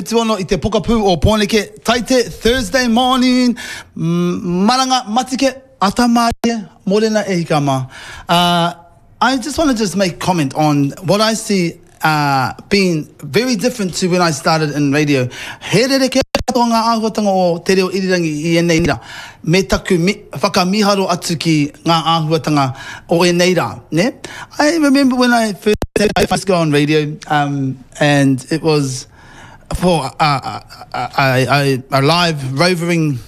76 i te pokapū o Pōneke, Taite, Thursday morning, maranga matike, ata mārie, mōrena e hika mā. Uh, I just want to just make comment on what I see uh, being very different to when I started in radio. He rerekē katoa ngā āhuatanga o te reo irirangi i ēnei rā, me taku mi, whakamiharo atu ki ngā āhuatanga o ēnei rā, ne? I remember when I first, I first go on radio, um, and it was for a, a, a, a live rovering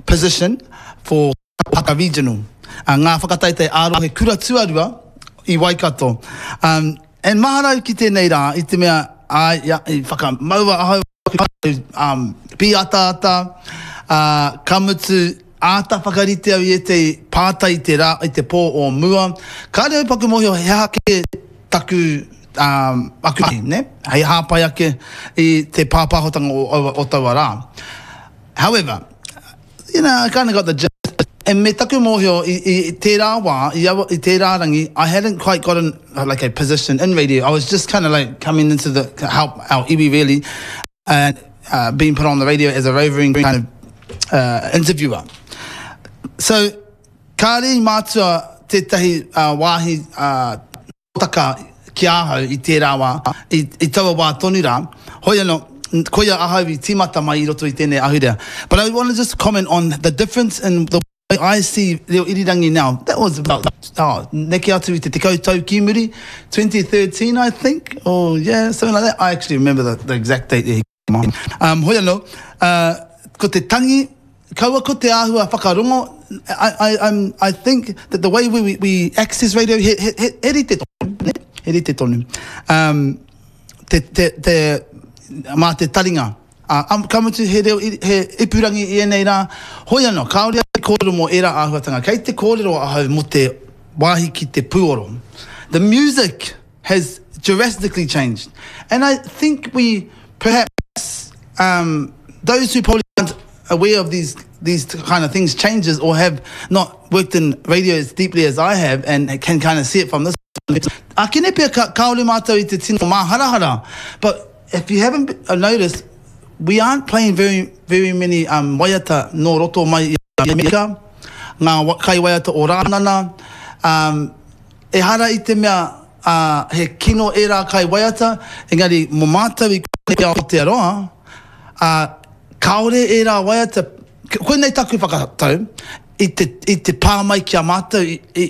position for Haka Regional, ngā whakataetae ā-rohe kura tuarua i Waikato. Um, and mahara au ki tēnei rā i te mea, ai, ia, i whakamaua ahau um, pīataata, uh, ka mutu, āta whakarite au i ētehi pātai i te rā, i te pō o mua. Kāre au paku mōhio he aha kē taku, um, aku mahi, ne? Hei hāpai ake i te pāpāhotanga o, o, o taua rā. However, You know, I kind of got the gist. And me taku mōhio, i, i tērā wā, i, aua, i tērā rangi, I hadn't quite gotten like a position in radio. I was just kind of like coming into the, to help our iwi really, and uh, being put on the radio as a rovering kind of uh, interviewer. So, kāre i mātua tētahi uh, wāhi uh, Taka ki ahau i tērā wā, i, i taua wā tonu rā. Hoi anō, koia ahau i tīmata mai i roto i tēnei ahurea. But I want to just comment on the difference in the way I see reo irirangi now. That was about, oh, neke atu i te tekau tau ki muri, 2013 I think, or yeah, something like that. I actually remember the, the exact date there. Um, hoi anō, uh, ko te tangi, kaua ko te āhua whakarongo, I, I, I'm, I think that the way we, we, we access radio, he, he, he, he rite tonu, ne? He rite tonu. Um, te, te, te, mā te taringa, uh, um, ka mutu he reo, he ipurangi i ēnei rā, hoi anō, kāore au i kōrero mō ērā āhuatanga, kei te kōrero ahau mō te wāhi ki te pūoro. The music has drastically changed. And I think we perhaps, um, those who probably aren't aware of these these kind of things changes or have not worked in radio as deeply as I have and can kind of see it from this Akene pea ka, kāore mātou i te tino māharahara. But if you haven't uh, noticed, we aren't playing very, very many um, waiata nō roto mai i Amerika, ngā kai waiata o Rānana, um, Ehara i te mea, ā, he kino ērā kaiwaiata, engari mō mātou i konei i Aotearoa, ā, kāore ērā waiata, koinei taku whakatau, i te, i te pā mai ki a mātou, i, i,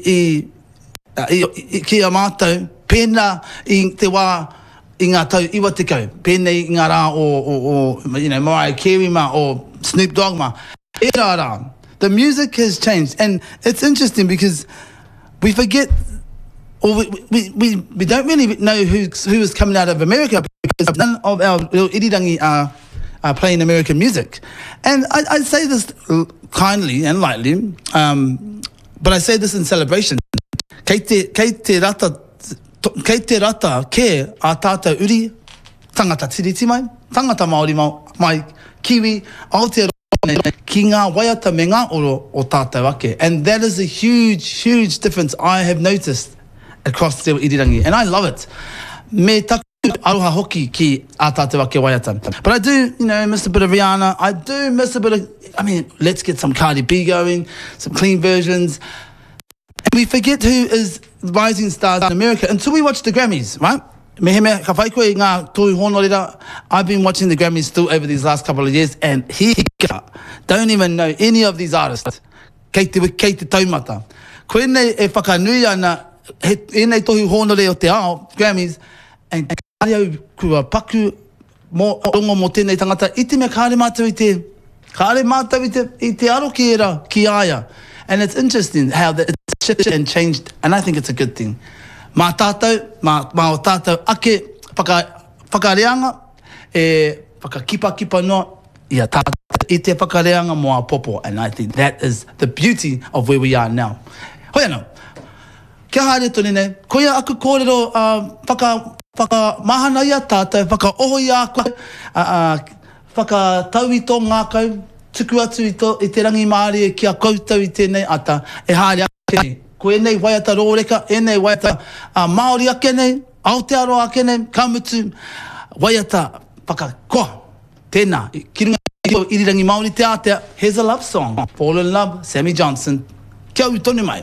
i, i, ki a mātou, pēnā i te wā i ngā tau 90, pēnei i ngā rā o, o, o, you know, Mariah Carey mā, o Snoop Dogg mā, ērā rā. The music has changed and it's interesting because we forget or we, we, we, we don't really know who, who is coming out of America because none of our little irirangi are, are playing American music. And I, I say this kindly and lightly, um, but I say this in celebration. Kei te, kei te rata, kei te rata kē a tātou uri tangata tiriti mai, tangata Māori mai, Kiwi, Aotearoa nei, ki ngā waiata me ngā oro o tātou ake. And that is a huge, huge difference I have noticed across te reo irirangi. And I love it. Me taku aroha hoki ki ā tātou ake waiata. But I do, you know, miss a bit of Rihanna. I do miss a bit of, I mean, let's get some Cardi B going, some clean versions. And we forget who is rising stars in America until we watch the Grammys, right? Mehemea ka whai koe i ngā tohu hōnorera, I've been watching the Grammys still over these last couple of years and hika, don't even know any of these artists. Kei te, kei te taumata. Koinei e whakanui ana he, ēnei tohu hōnore o te ao, Grammys, and kāre au kua paku mō, rongo mō tēnei tangata, i te mea kāre mātou i te, kāre mātou i te, i te aro ki ērā, ki a ia. And it's interesting how that it's shifted and changed, and I think it's a good thing. Mā tātou, mā, mā o tātou ake whaka, whakareanga, e whakakipakipa noa i a tātou i te whakareanga mō āpōpō, and I think that is the beauty of where we are now. Hoi anō. Kia haere tonu nei, koia aku kōrero whaka, whakamahana i a tātou, whakaoho i a koe, whakatau i tō ngākau, tuku atu i tō, i te rangimārie ki a koutou i tēnei ata e haere ake nei. Ko ēnei waiata rōreka, ēnei waiata Māori ake nei, Aotearoa ake nei, ka mutu, waiata. whakakoa. Tēnā, ki runga i tō irirangi Māori te ātea, here's a love song, Fall in Love, Sammy Johnson. Kia ū tonu mai.